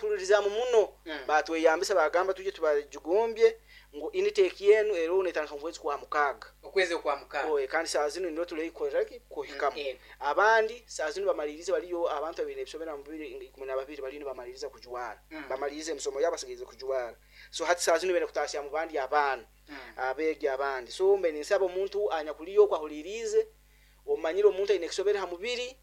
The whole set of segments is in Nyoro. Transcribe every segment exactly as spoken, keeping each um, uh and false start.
Bakatuhuririzaamu muno. Mm. Batweyambisa, bagamba tujye tubajugumbye ngu intake yenu ero netandika mu kwezi kwa mukaaga. Okwezi kwa mukaaga. Oye, kandi saa zino niyo tuleikorera kuhikamu. Mm, yego. Abandi saa zino bamalirize, baliyo abantu babiri ebisobera mu bibiri ikumi na babiri baliyo bamaliriza kujwara. Mm. Bamalirize emisomo yabo, basigirize kujwara. So hati saa zino bene kutasya mu bandi abaana, Mm. abeegi abandi. So mbe ninsaba omuntu anyakuliyo okwahuliriize, omanyire omuntu aine ekisobere ha mubiri,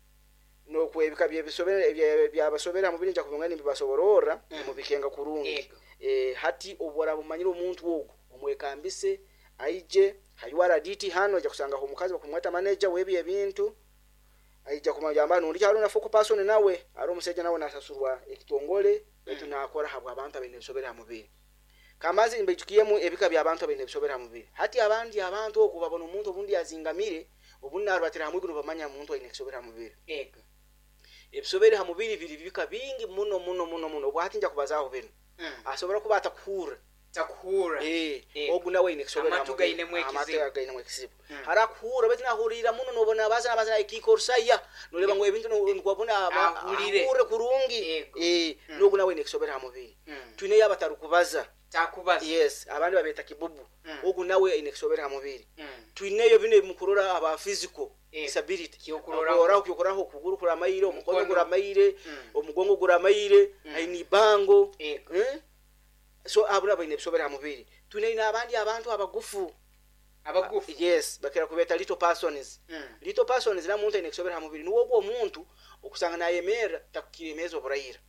nokwebika byebisobere byabasobere ha mubiri, nja kubinga nibibasobororra. Mm. Mubikenga kurungi. Yego. eh, hati obu oraba omanyire omuntu ogu, omwekambise aije ha U R D T hano. Aija kusangaho omukazi bakumweta manager w'ebyo ebintu, aija kumagamba nundi hariho na focal person, nawe ari omusajja, nawe nasasurwa ekitongole, baitu Mm. nakora habwa abantu abaine ebisobere ha mubiri. Kamazi mbaijukiyemu ebika by'abantu abaine ebisobere ha mubiri. Hati abandi abantu oku babona omuntu obundi azingamire, obundi narubatira hamwe, guno bamanya omuntu aine ekisobere ha mubiri. Yego. Ebisobere ha mubiri biri bika bingi muno muno muno muno. Obwo hati nja kubazaaho bino. Mm. Asobora kuba atakuhurra. Takuhurra. Eh, Eh. ogu nawe aine ekisobere ha Amatu mubiri. gainemu ekizibu. Amatu gainemu ekizibu. Mm. Harakuhurra, baitu nahurira muno, nobona baza nabaza ekiika orusaya, noleba ngu ebintu nikwabona. Ahurire. Ahurre kurungi. Yego. Eh, Mm. n'ogu nawe aine ekisobere ha mubiri. Mm. Twineyo abatarukubaza. Takubaza. Yes, abandi babeta kibubu. Mm. Ogu nawe aine ekisobere ha mubiri. Mm. Twineyo bino ebimukurora aba physical Eh. disability. Kyokuroraho. Okuroraho, kyokuroraho, okuguru kuramaire, omukono Omukono. guramaire, Mm. omugongo guramaire, Mm. aine ibango. Yego. Eh? So abo nabo baine ebisobere ha mubiri. Twine n'abandi abantu abagufu. Abagufu. Yes, bakira kubeta little persons. Mm. Little persons na muntu aine ekisobere ha mubiri niwo ogwo omuntu okusanga nayemerra takukira emeza oburayira.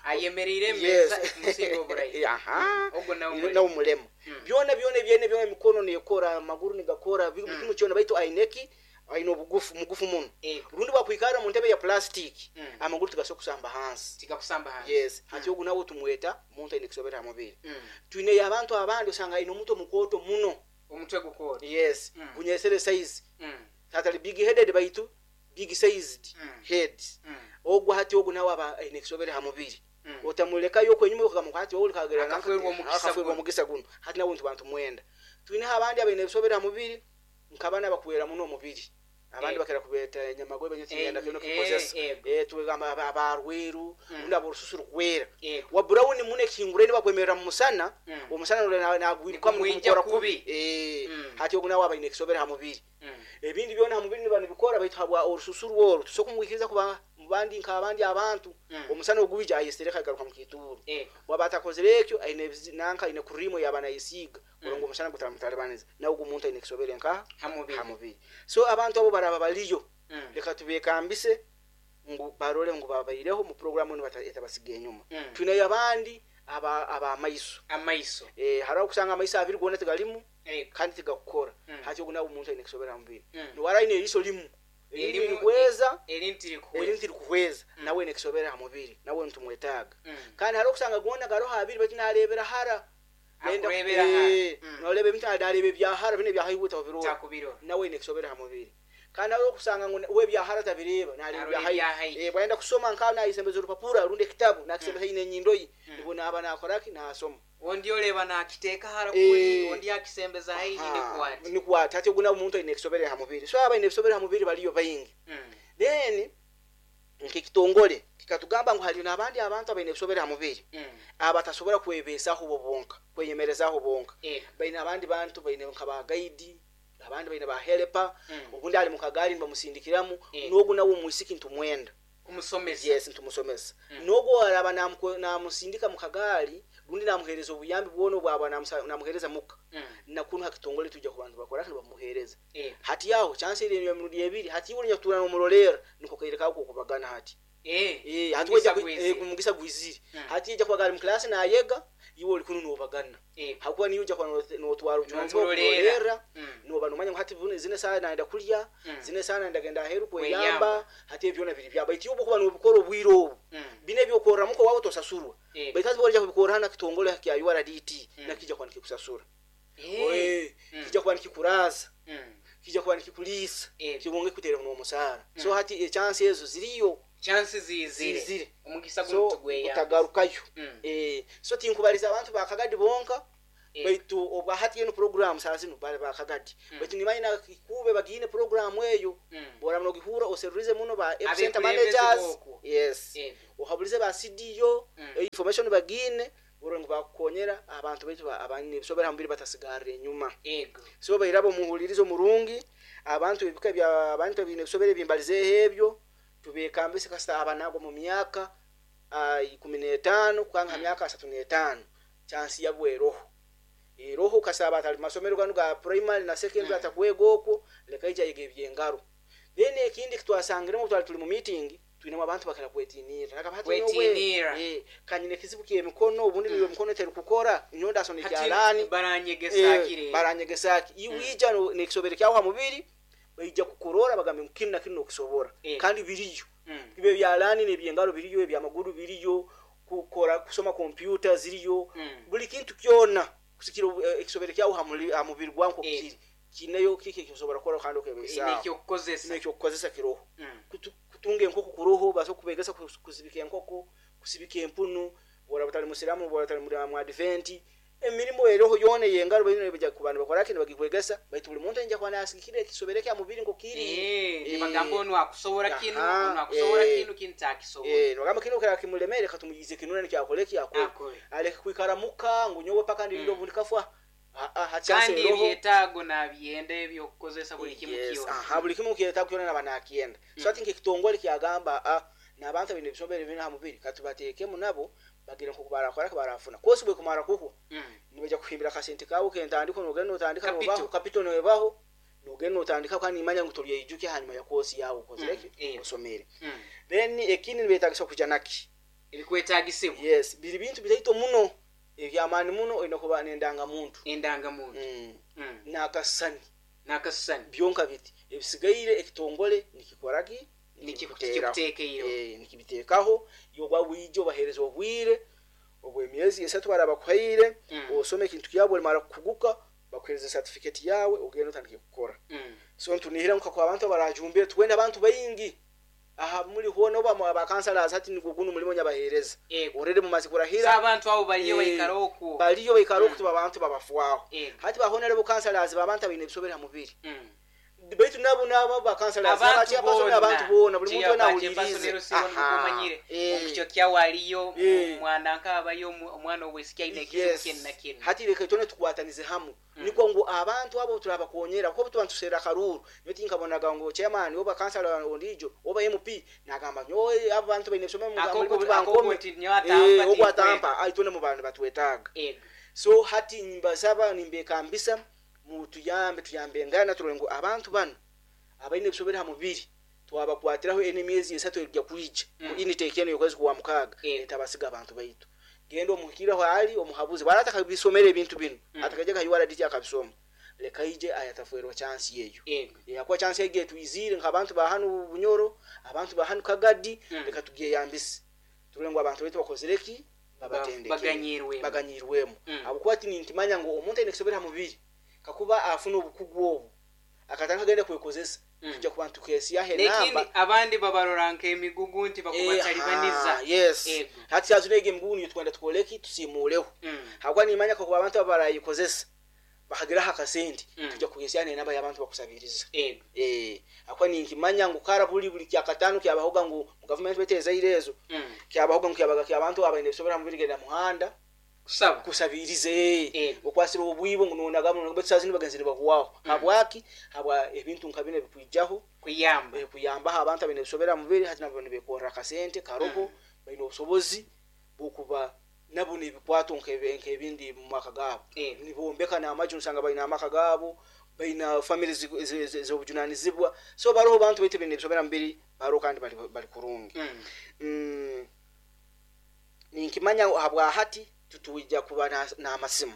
Ayemereire Yes. emeza ekumusinga oburayi. Aha. Ogwo nawe mulema. Nawe mulema. Mm. Byona byona ebyene byona, emikono nekora, amaguru nigakora, buli Mm. kimu kyona, baitu aineki aine obugufu, mugufu muno. Yego. Rundi bwakwikara mu ntebe ya plastic, Mm. amaguru tigasobola kusamba hansi. Tikakusamba hansi. Yes, hati ogu nawe tumweta muntu aine ekisobere ha mubiri. Mm. Twineyo abantu abandi osanga aine omutwe mukooto muno. Omutwe gukooto. Yes. Mm. Gunyesere size. Mm. Atali big headed, baitu big sized Mm. head. Mm. Ogwo hati ogu nawe aba aine ekisobere ha mubiri. Mm. Otamulekayo okwenyuma okugamba hati wowe kagera. Akaferwa omukisa Akaferwa guno. omukisa guno. Hati nawe ntu bantu mwenda. Twineho abandi abaine ebisobere ha mubiri, nkabana bakwera muno omubiri. Abandi Eh. bakera kubeta enyamagobe Eh, nyekigenda kino eh, kikozesa. eh. Eh, tugamba abarweru, Mm. undi aborususu rukwera, Yego. wa brown muno, ekihinguraine bakwemerera mu musana, Mm. omusana nagwirukwamu. Nikumwija kubi. Eh, Mm. hati ogu nawe abaine ekisobere ha mubiri. Mm. Ebindi byona ha mubiri niba nibikora, baitu habwa orususu rworo tusobola kumwikiriza kuba mubandi nk'abandi abantu. Mm. Omusana ogwija ayesereka, agaruka mu kituuro. Yego. Waba atakozere ekyo, aine ebizi- nanka aine kurimu yaba nayesiiga mm. ngo omusana gutamutalibaniza. Nawe ogu omuntu aine ekisobere nka Ha mubiri. Ha mubiri. So abantu abo baraba baliyo, Mm. leka tubekambise ngu barole ngu babaireho mu programu enu, bata- etabasiga enyuma. Mm. Twineyo abandi aba abamaiso. Amaiso. Eh, hariho okusanga amaiso abiri gona tigalimu Yego. kandi tigakukora. Mm. Hati ogu nawe omuntu aine ekisobere ha mubiri. Mm. Niwara aine eriiso limu, erindi Erimu- likuhweza, erindi tirikuhweza. erindi tirikuhweza, nawe aine ekisobere ha mubiri, nawe nitumwetaaga. Mm. Kandi hariho okusanga gona garoho abiri, baitu narebera hara. Nenda- Akurebera hara. Eh, Mm. noreba ebintu, nareba ebyahara, bino ebyahaiwe tabirora. Takubirora. Nawe aine ekisobere ha mubiri. Kandi hariho okusanga ngu we ebyahara tabireba, nareba Arora ebyahaiwe. ebyahaiwe. Eh, bwayenda kusoma, nka nayisembeza orupapura rundi ekitabu, nakisembeza haihi n'enyindo ye, Mm. nibwo naba nakoraki, nasoma. Ondi oleba nakiteeka hara Eh. kuli, ondi akisembeza haihi nikwati. Nikwati. Hati ogu nawe omuntu aine ekisobere ha mubiri. So abaine ebisobere ha mubiri baliyo baingi. Mm. Then nk'ekitongole kikatugamba ngu haliyo n'abandi abantu abaine ebisobere ha mubiri Mm. abatasobora kwebeesaho bo bonka, kweyemerezaho bonka. Yego. Baine abandi bantu, baine nka ba guide, abandi baine ba helper. Mm. Obundi ali mukagaali nibamusindikiramu. Eh. N'ogu nawe omwisiki ntumwenda. Kumusomesa. Yes, ntumusomesa. Mm. N'ogu araba namuko- namusindika mukagaali rundi namuhereza obuyambi bwona obwaba namusa- namuhereza muka, Mm. nakunu hakitongole tujja kubantu bakora nibamuhereza. Yego. Hati aho chance iri emirundi ebiri. Hati iwe onyatuura nomurolera, niko kaire kako kokubagana hati. Eh. Eh, hati Omugisa wejja ku- gwizire. eh, omugisa gwizire. Mm. Hati ijja kuba ali mu class nayega, iwe oli kunu nobagana, Yego. hakuba niyo ujja kuba notwara obujunanizibwa. Nomurolera. Okurolera. Mm. Noba nomanya ngu hati buno zine saha nayenda kulya, Mm. zine saha nayenda genda aheru Kweyamba. kweyamba. Hati ebyo byona biri byaba, baitu iwe obukuba nobikora obwire obu, Mm. bino ebyokorramuko wawe tosasurwa. Yego. Baitu hati bwolija kubikora hano kitongole kya U R D T, Mm. nakijja kuba nikikusasura. Eh. Oe, Mm. kijja kuba nikikuraza, Mm. kijja kuba nikikuliisa, Yego. kibonge kuteera n'omusaara. So Mm. hati echansi ezo ziriyo. Chansi zizire. Zizire. Omugisa So guno tugweyamba. utagarukayo. Mm. Eh, so tinkubaliza abantu bakagadi bonka. Eh. Baitu obwa hati eno program saa zino bali bakagadi, Mm. baitu nimanya kube bagiine program eyo. Mm. Bora nogihura oserurize muno ba F center Abekulembeze managers. b'okwo. Yes. Ego. Ohabulize ba C D O, Mm. information bagine bora ngu bakukonyera abantu baitu ba- abanyine ebisobera ha mubiri batasigarra enyuma. Ego. So bairabo omuhulirizo murungi abantu ebika bya abantu ebine ebisobera ebimbalizeeho ebyo tubekambise kasita abanagwa mu myaka ah, ikumi n'etaano kukanga ha Mm. myaka asatu n'etaano, chansi yabwo eroho eroho kasaba atali masomero ganu ga primary na secondary, Mm. atakwega okwo, leka ija yiga ebyengaro. Then ekindi kitwasangiremu, twali tuli mu meeting, twinemu abantu bakira kwetinira. Nakaba hati nyowe, Kwetinira. eh, kanyine ekizibu ky'emikono, obundi Mm. mm. emikono eteri kukora, nyowe ndasona Hati ekyalaani. baranyegesa kire. Baranyegesaki iwija mm. nekisobere kyawe ha mubiri, baija kukurora bagambe ngu kinu na kinu nokisobora. Eh. Kandi biriyo, Mm. bibe byalaani nebyengaro biriyo, ebyamaguru biriyo, kukora kusoma kompyuta ziriyo, Mm. buli kintu kyona kusikira obu- eh, ekisobere kyawe ha muli- ha mubiri gwawe nko Eh. kiri kineyo kiki ekisobora kukora kandi okebesaaho. Nekyokukozesa. Nekyokukozesa kiroho. Mm. Kutu- kutunga enkoko kuroho, basobola kubegesa kus- kusibika enkoko, kusibika empunu, bora batali musiramu, bora batali muri mu adventi, emirimu eroho yona eyengaro baina baja kuba nibakoraki nibagikwegesa. Baitu buli muntu ayinja kuba nasigikira ekisobere kya mubiri nko kiri. Eh, Eh. nibagamba onu akusobora kinu, Aha, onu akusobora eh. kinu, kinu takisobora. Eh, nogamba kino kira kimulemere, katumuyize kinuna nikyakole kyakole. Akole. Aleke kwikara muka ngu nyowe paka ndinde Mm. obundi kafwa. Ah, ah, hati kandi eroho. ebyetaago nabyenda ebyokukozesa buli kimu Yes, kyona. aha, buli kimu kyetaago kyona naba nakyenda. So ati nk'ekitongole kyagamba ah, n'abantu abine ebisombere bine ha mubiri katubateekemu nabo bagire nkoku barakora barafuna kosi bwe kumara kuhwa, Mm. nibaja kuhimbira akasente kawe kentandiko, nogenda notandika. Capital. Nobaho capital, nobaho nogenda notandika, kandi nimanya ngu tolyeijuke hanyuma ya kosi yawe okozereki, Mm, eh. osomere. Mm. Then ekindi nibetagisa kuja naki? Ebikwetagisibwa. Yes, biri bintu bitaito muno ebyamaani muno, olina kuba nendangamuntu. Endangamuntu. mm. Mm. N'akasani. N'akasisani. Byonka biti ebisigaire ekitongole nikikoraki? Nikikuteeraho. Eh, nikibiteekaho yogwa wije obahereza obwire obw'emyezi esatu barabakuhaire, Mm. osome ekintu kyabo, olimara kukuguka bakuhereza certificate yawe, ogenda otandike kukora. Mm. So ntunihira nka kwa abantu abarajumbire, twenda abantu baingi aha muli hona oba mu abakansalazi, hati nigwo guno mulimo nyabahereza. Ego. Orere mumaze So kurahira. abantu abo baliyo Eh, baikara okwo. Baliyo baikara Mm. okutuba abantu babafwaho. Ego. Hati bahonere councillors babantu abaine ebisobere ha mubiri, Mm. baitu nabo nabo bakansalazi Abantu abachairperson, abantu boona, buli muntu wena awulirize. Omanyire Eh. omukyo kyawaliyo Eh. omwana nkaabayo omu- omwana obwesiki aine ekizibu Yes. kinu na kinu. Hati reka itone tukwatanize hamu, Mm. nikwo ngu abantu abo turabakonyera kuko tuba ntuserera akaruru. Nyo tinkabonaga ngo chairman oba councillor ondijo oba M P nagamba nyowe abo bantu baine ebisomero Akoko- mulimu akoko tubankome. nti nyowe atampa. Eh, ogwo atampa aitone mu bantu batwetaaga. Ego. So hati mbasaba, nimbekambisa mutuyambe, tuyambe ngana turole ngu abantu bano abaine ebisobere ha mubiri twabakwatiraho ene emyezi esatu erija kwija Mm. mm. intake eno yokwezi kwa mukaaga, Eh. etabasiga abantu baitu. Genda omuhikiraho ali omuhabuzi bwara atakabisomera ebintu bino, Mm. atakajja ka U R D T akabisoma, leka ije ayatafwerwa chance yeyo. Ego. Yakuwa chance yege twizire nk'abantu ba hanu Bunyoro, abantu ba hanu Kagadi. Mm. Leka tugeyambise turole ngu abantu baitu bakozereki, babatendekere, Baganyirwemu. baganyirwemu. Mm. Habwokuba ti ninkimanya ngu omuntu aine kusobera ha mubiri kakuba afuna obukugu obu akatandika agenda kwekozesa, Mm. tujja kuba ntukesiyaho Nekindi enamba. abandi babarora nk'emigugu nti bakubatalibaniza. Eh, yes. Ego. Hati sazino ege emigugu niyo twenda tukoleki, tusimuleho. Mm. Habwokuba nimanya kakuba abantu abo barayikozesa bakageraho akasente, Mm. tujja kugesyaho enamba y'abantu bakusabiriza. Ego. Eh, akuba ninkimanya ngu kara buli buli kyakataano kyabahoga ngu mu gavumenti betezaire ezo, Mm. kyabahoga ngu kyabaga kyabantu abaine ebisobera mubiri genda muhanda kusaba. Kusabirize. Ego. Okwasira obwibo ngu nonagamu baitu sazino bagenzi nibahuwaho. Mm. Habwaki? Habwa ebintu nka bino ebikwijaho. Kuyamba. eh, kuyambaho abantu abaine ebisobera mubiri, hati nabo nibekorra akasente karoho. Mm. Baine obusobozi bwokuba nabo nebikwato nk'ebe- nk'ebindi mu maka gaabo. Ego. Nibombeka n'amaju, nsanga baine amaka gaabo, baina family z'obujunanizibwa. So baroho bantu baitu baine ebisobera mubiri baroho kandi bali, bali kurungi. Mm. mm, ninkimanya habwa hati tutuija kuba na- n'amasimu,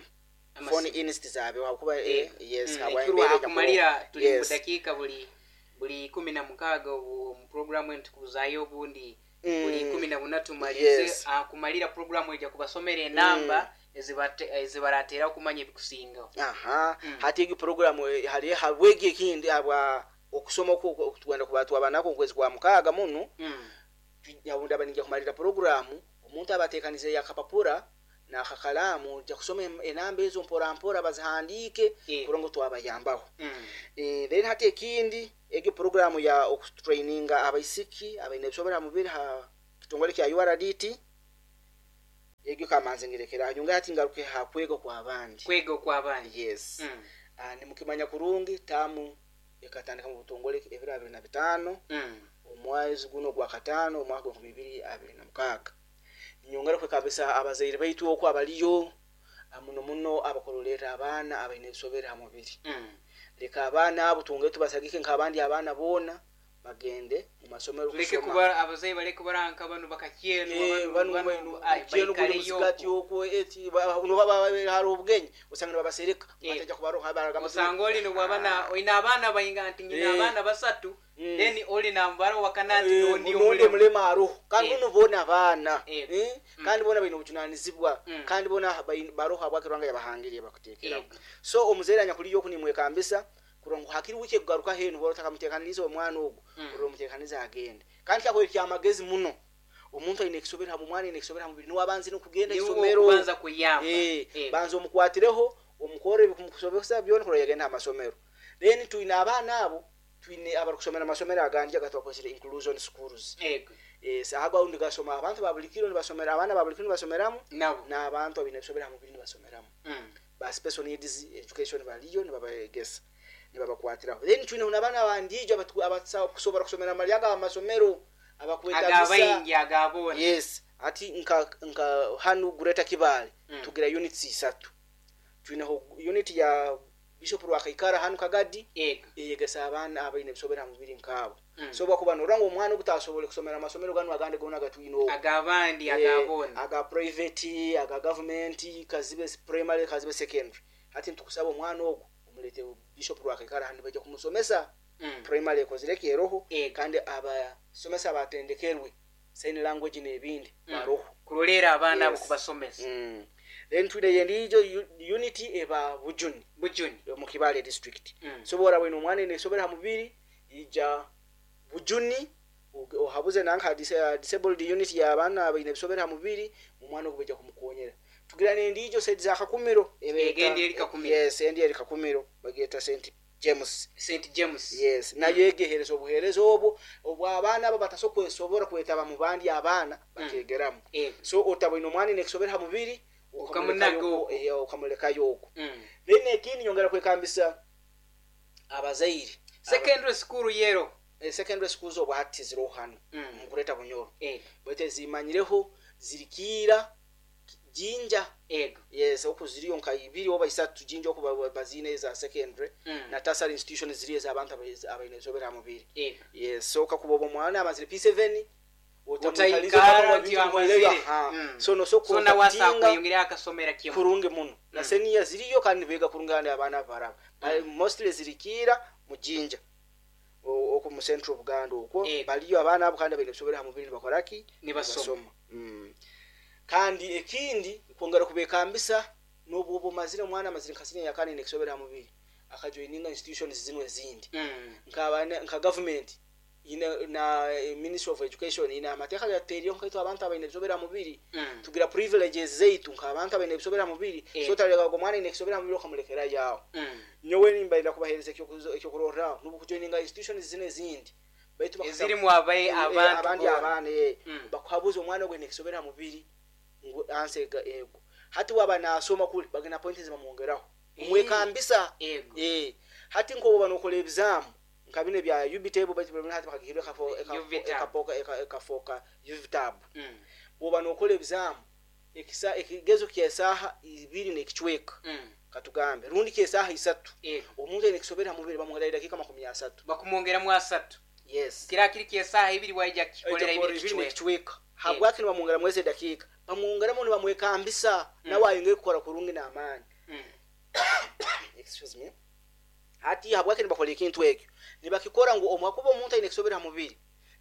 Amasimu. phone inst zabe hakuba eh, yes. Mm, Habwa ekirwa embera ejja akumalira kubaho. tuli mu Yes. dakiika buli buli kumi na mukaaga obu mu programu eno tukuzaayo obundi Mm. buli kumi na buna tumalize. Yes. Ah, kumalira programu ejja kubasomera enamba ezibate- ezibarateera okumanya ebikusingaho. Aha. Mm. Hati egi programu eh, hali habwegi ekindi habwa okusoma okwo tugenda kuba twabanako okwezi kwa mukaaga muno. Mm. Yabunda ninja kumalira programu, omuntu abatekanize yakapapura. N'akakalaamu ojja kusoma em- enamba ezo mpora mpora bazihandiike Eh. kurora ngu twabayambaho. Mm. Eh, then hati ekindi, egyo programu ya okutraininga abaisiki abaine ebisobera ha mubiri ha kitongole kya U R D T, egyo kamanze ngirekera nyonga. Hati ngaruke ha kwega kw'abandi. Kwega okw'abandi. Yes. Mm. Ah, nimukimanya kurungi, tamu ekatandika mu butongole ebiro abiri na bitaano Mm. omwezi guno gwa kataano omwaka gwenkumi ibiri abiri na mukaaga. Nyongera kwekabisa abazaire baitu okwo abaliyo, ah, muno muno abakurolera abaana abaine ebisobere ha mubiri. Mm. Leka abaana abo twongere tubasagike nk'abandi abaana boona, bagende mu masomero Tuleke kusoma. Kuba abazaire baleke kubaranka bano bakakyenu. Eh, bano- bano bano- ai, kyenu guli baikaleyo musigati okwo. okwo eti ba- noba ba- hari obugenyi osanga nibabasereka Eh. batajja kubaroha baragamba. Osanga oli nobwaba na olina abaana bainga nti nyina Eh. abaana basatu, Mm. then oli nambara wakana nti Eh, nondi nondi omulema. omulema aroho kandi Eh. buno boona abaana. Eh. Eh, kandi boona baine obujunanizibwa. Mm. Kandi boona baine- baroho habwaki Ruhanga yabahangiriye bakuteekeraho. Eh. So omuzaire anyakuliyo oku nimwekambisa kurora ngu hakiri wiki ekugaruka henu bora otakamuteekaniriza omwana ogwo, Mm. orora omuteekaniza agende. Kandi kyakubere kyamagezi muno, omuntu aine ekisobera ha omwana aine ekisobera ha mubiri niwe abanze n'okugenda Niwe isomero. okubanza kuyamba. Eh, Eh. banza omukwatireho, omukore ebikumukusobesa byona kurora yagenda amasomero. Then twine abaana abo, twine abarikusomera amasomero agandi agatwakozire inclusion schools. Ego. Eh, ago ago nigasoma abantu ba buli kiro nibasomera, abaana ba buli kiro nibasomeramu nabo n'abantu abaine ebisobera ha mubiri nibasomeramu. Mm. Ba special needs education baliyo nibabayegesa, nibabakwatiraho. Then twine n'abaana abandiijo abatu- abakusobora kusomera amalyaga amasomero abakwetagisa Agabaingi agabona. Yes, ati nka nka hanu Greater Kibale Mm. tugira units isatu. Twineho unit ya Bishop Rwakaikara hanu Kagadi, Ego. eyegesa abaana abaine ebisobera ha mubiri nkaabo. Mm. So bwakuba norora ngu omwana ogutasobole kusomera amasomero ganu agandi gona gatwine oku Agabandi Eh, agabona. aga private, aga government, kazibe primary, kazibe secondary, hati ntukusaba omwana ogwo omulete Bishop Rwakaikara hanu, bajja kumusomesa. Mm. Primary ekozire keroho Ego. kandi abasomesa batendekerwe sign language n'ebindi Mm. baroho Kulolera abaana abo, Yes. kubasomesa. Mm. Then twine yendijo u- unit eba Bujuni Bujuni. mu Kibale district. Mm. So bora bwine omwana ine esobera ha mubiri, ija Bujuni uge- ohabuze nanka dis- disabled unit y'abaana abaine ebisobera ha mubiri, omwana ogwo bajja kumukonyera. Tugira nendijo side za Kakumiro ebeeta- Egendi eri Kakumiro. Yes, endi eri Kakumiro, bageta Saint James. Saint James. Yes, nayo egehereza obuhereza obwo obw'abaana abo batasobola kwesobora kwetaba mu bandi abaana bakegeramu. Ego. So otabwine omwana ine ekisobera ha mubiri, Okamunaga ukamulekayo okwo. eh, ukamulekayo okwo. Mm. Then ekindi, nyongera kwekambisa abazaire. Secondary school yero? Eh, secondary schools obwo hati ziriho hano Mm. mu Greater Bunyoro. Ego. Bwete zimanyireho zirikiira Jinja. Ego. Yes, oku ziriyo nka ibiri oba isatu Jinja oku ba- bazine eza secondary Mm. na tertiary institution ziri ez'abantu abaine- abaine ebisobera ha mubiri. Ego. Yes, so kakuba oba omwana amazire P seven, Otaikara nti amazire. Mm. so noso So nawasa kontaktinga kweyongera akasomera kimu. Kurungi muno. Na senior ziriyo kandi nibeega kurungi kandi abaana baraba. mm. Mostly zirikiira mu Jinja O- okwo mu central Buganda okwo. Ego. Baliyo abaana abo kandi abaine ebisobera ha mubiri nibakoraki? Nibasoma. Mm. kandi ekindi, kwongera kubekambisa, n'obwoba omazire omwana amazire nka senior yakane nekisobera ha mubiri, akajoininga institutions zimwe ezindi Mm. nka nka government ine na eh, Ministry of Education ine amateeka gateriyo nkaitu abantu abaine ebisobera ha mubiri. Mm. Tugira privileges zeitu nk'abantu abaine ebisobera ha mubiri. Eh. So tarega omwana ine ekisobera ha mubiri okamulekera yawo. Mm. Nyowe nimbaira kubahereza ekyokuzo- ekyokurorraho nubu kujoininga institutions zino ezindi baitu bakasa- Ezirimu abae Eh, eh, abantu abandi boona. abaana eh, Mm. bakuhabuza omwana gwe nekisobera ha mubiri ngu anse ego hati waba nasoma kuli bagenda points zibamwongeraho Eh. omwekambisa. Ego. Eh, hati nkobo banokola ebizamu nka bino bya U B TAB, baitu bino hati bakagihirwa ekafo- ekafo- U V TAB. ekafoka eka- ekafoka U V TAB. Mm. Bwoba nokola ebizamu ekisa ekigezo kyesaaha ibiri n'ekicweka, Mm. katugambe rundi kyesaaha isatu, Ego. omuntu aine ekisobera ha mubiri bamwongera edakiika makumi asatu. Bakumwongeramu asatu. Yes. Kira kiri kyesaaha ibiri waija kikolera ibiri ibiri kicweka. N'ekicweka. Habwaki nibamwongeramu ezi edakiika? Bamwongeramu nibamwekambisa nawe ayongere kukora kurungi n'amaani. Mm. Excuse me. Hati habwaki nibakora ekintu ekyo? Nibakikora ngu omwakuba omuntu aine ekisobera ha mubiri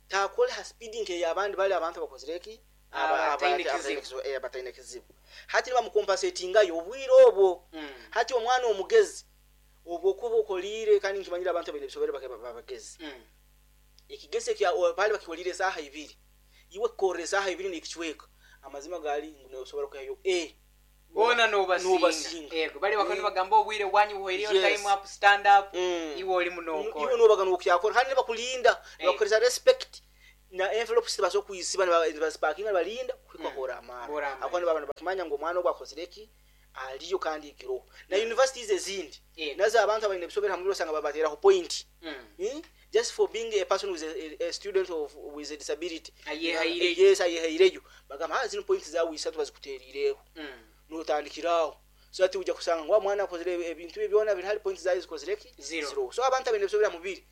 takole ha speed nk'eyabandi bali abantu bakozire eki. Aba- Abataine aba- kizibu. eh, abataine kizibu. Hati nibamukompensatingayo obwire obwo. Mm. Hati omwana omugezi obwo okuba okoliire, kandi nkimanyire abantu abaine ebisobere babagezi, Mm. ekigese kya bali bakikolire esaaha ibiri, iwe kukorera esaaha ibiri n'ekicweka, amazima gali ngu nosobora kuhayo a Bona nobasinga. Nobasinga. Yego, bali bakoni Mm. bagamba obwire bwanyu buhwereyo, Yes. time up, stand up. Mm. Iwe oli munokora. Iwe nobaga nokyakora kandi nibakulinda, Eh. nibakuhereza respect na envelopes tibasobola kuyisiba, nibazipakinga, nibalinda kuhika Mm. hora amara. Hora amara. Akuba nibaba nibakimanya ngu omwana ogu akozire ki, aliyo kandi ikiroho na universities ezindi Yego. nazo abantu abaine ebisobera hamubiri osanga babateraho point. Mm. Hmm? Just for being a person with a, a student of with a disability. Ayehaireyo. Yes, ayehaireyo, bagamba, "Ah, zino points zawe isatu bazikuterireho." Mm. Notandikiraho, so ati ujja kusanga ngu mwana akozire ebintu bye byona biri hali, points zawe zikozire ki? Zero. Zero. So abantu abaine ebisobera mubiri,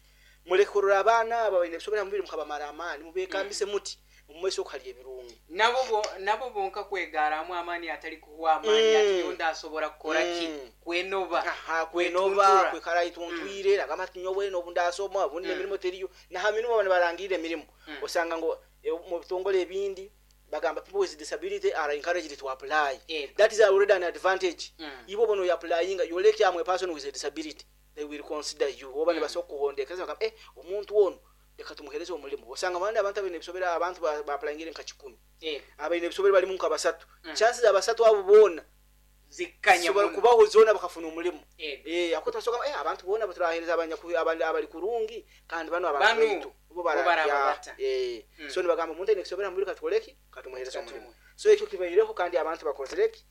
muleke kurora abaana abo abaine ebisobera mubiri mukabamara amaani, mubekambise muti mumaiso okuhali ebirungi. Nabo bo nabo bonka kwegaramu amaani, atali kuhwa amaani. Mm. Ati yondi asobora kukora ki? Mm. Kwenoba. Aha, kwenoba. Kwetuntura. Kwekara ituntwire, agamba ati nyowe nobu ndasoma obundi Mm. emirimu teriyo, naha mirimo bano barangirire emirimu. Mm. Osanga ngo eh, mu bitongole ebindi bagamba people with disability are encouraged to apply. Yego. That is already an advantage. Mm. Ibo bono yaplyinga yoleke am a person with a disability, they will consider you oba Mm. nibasobola kuhondekeza, bagamba, eh omuntu ono leka tumuhereze omulimu. Osanga abandi abantu abaine ebisobera, abantu ba- baapplyingire nka kikumi, Yego. abaine ebisobera balimu nka basatu. Mm. Chances abasatu abo boona zikkanya zisobola muno. kubaho zona bakafuna omulimu. Yego. Eh, ako twasoka eh abantu bona baturahereza abanyaku abali abali kurungi kandi bano abantu Banu, baitu bo bo barabya. barababata. Eh. Mm. So nibagamba omuntu aine kusobera mubiri katukoleki, katumuhereza Katumuhe. omulimu. So ekyo kibaireho kandi abantu bakozereki,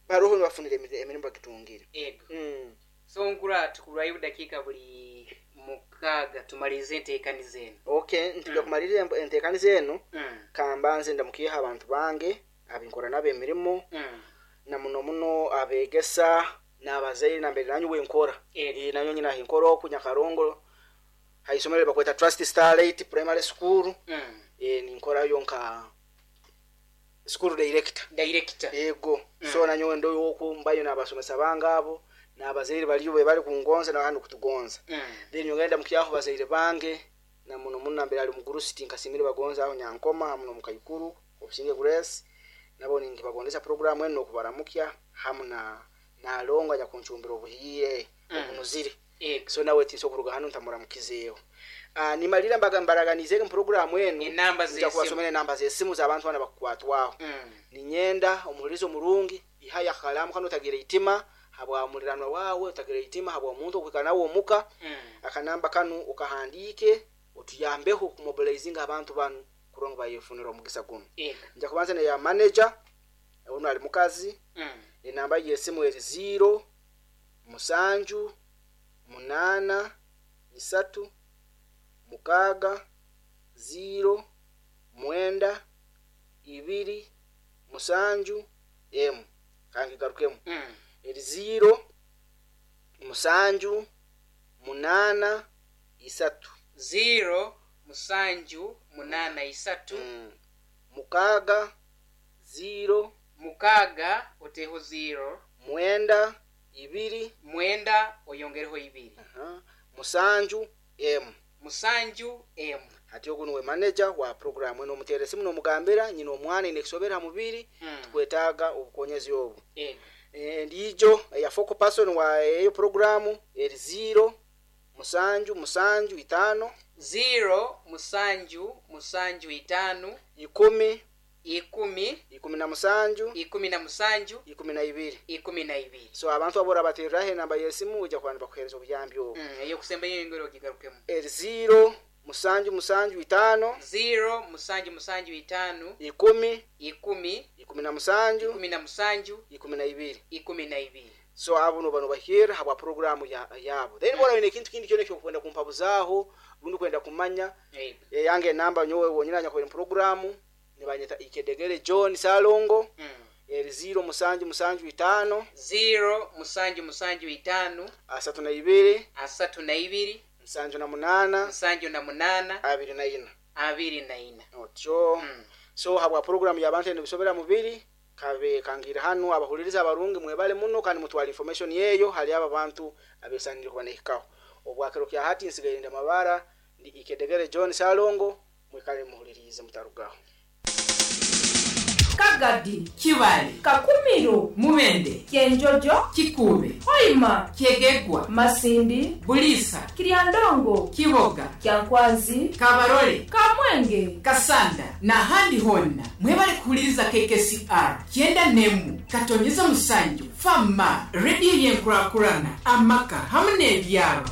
baroho nibafunira emiri- emirimu bagitungire. Yego. Mm. So nkura tukurwayo dakiika buli mukaaga tumalirize enteekaniza eno. Okay, ntujja Mm. kumaliriza emp- enteekaniza eno. Mm. Kambanze ndamukiiha abantu bange abinkora nabo emirimu, Mm. na muno muno abegesa n'abazaire nambere nanyu wenkora. Yego. Eh, nanyo nyina hinkora oku Nyakarongo haisomero bakweta Trust Starlight Primary School. Mm. Eh, ninkorayo nka school director. Director. Ego. Mm. So nanyowe ndoyo oku mbayo n'abasomesa bange abo n'abazaire baliyo be bali kungonza nabandi kutugonza. Mm. Then nyongenda mukyaho bazaire bange na muno muno nambere ali mugurusi nkasimire bagonza aho Nyankoma hamu nomukaikuru Obusinge Grace, nabo ningibagondesa programu eno okubaramukya hamu na nalonga nyakuncumbira obuhiire Mm. obunuzire. Yego. So nawe tinso okuruga hano ntamuramukizeeho. Ah, nimalira mbaga mbaraganize mu programu eno. Enamba nja z'esimu. Kubasomera enamba z'esimu z'abantu bana bakukwatwaho. Mm. Ninyenda omuhurizo omurungi ihaya akalamu kano, otagira itima habwa muliranwa wawe, otagira itima habwa omuntu okwikara nawe omuka. Mm. Akanamba kanu okahandike otuyambeho kumobilizinga abantu banu kurora ngu bayefunira omugisa guno. Yego. Nja kubanza neya manager, ono ali mukazi. Mm. Enamba y'esimu eri zero musanju munana isatu mukaaga zero mwenda ibiri musanju emu. Kangigarukemu. Mm. Eri zero musanju munana isatu Zero musanju munana isatu. mm. mukaaga zero Mukaaga oteho zero. Mwenda ibiri Mwenda oyongereho ibiri. Aha, musanju emu. Musanju emu. Hati ogu niwe manager wa programu eno, omuteera esimu nomugambira nyina omwana ine kusobera ha mubiri, Mm. tukwetaaga obukonyezi obu. Yego. Endiijo eya focal person wa eyo programu eri zero musanju musanju itaano Zero musanju musanju itaano ikumi ikumi ikumi na musanju ikumi na musanju ikumi na ibiri. Ikumi na ibiri. So abantu abo orabatereraho enamba y'esimu ojja kuba nibakuhereza obuyambi obwo. Mm. Eyokusembayo yongere ogigarukemu. Eri zero musanju musanju itaano Zero musanju musanju itaano ikumi ikumi ikumi na musanju ikumi na musanju ikumi na ibiri. Ikumi na ibiri. So abo noba nobahera habwa programu ya, yabo. Then bora wine ekintu kindi kyona ekyokwenda kumpabuzaho rundi kwenda kumanya, Yego. eyange enamba nyowe wonyina nyakwenda programu nibanyeta Ikedegere John Salongo. Mm. Eri zero musanju musanju itaano Zero musanju musanju itaano asatu na ibiri asatu na ibiri nsanju na munana nsanju na munana abiri na ina. Abiri na ina. Otyo. Mm. So habwa programu y'abantu eno bisobera mubiri kabe kangira hanu, abahuliriza abarungi mwebale muno kandi mutwala information yeyo hali aba bantu abesanire kuba nehikaho obwakiro kya hati. Nsigaye ndamabara, ndi Ikedegere John Salongo, mwikale muhulirize mutarugaho. Kagadi, Kibale, Kakumiro, Mubende, Kyenjojo, Kikuube, Hoima, Kyegegwa, Masindi, Buliisa, Kiryandongo, Kiboga, Kyankwanzi, Kabarole, Kamwenge, Kasanda n'ahandi honna. Mwebale kuhuliriza K K C R kyenda nemu katonyeza musanju fama, rediyo y'enkurakurana, amaka hamu n'ebyaro.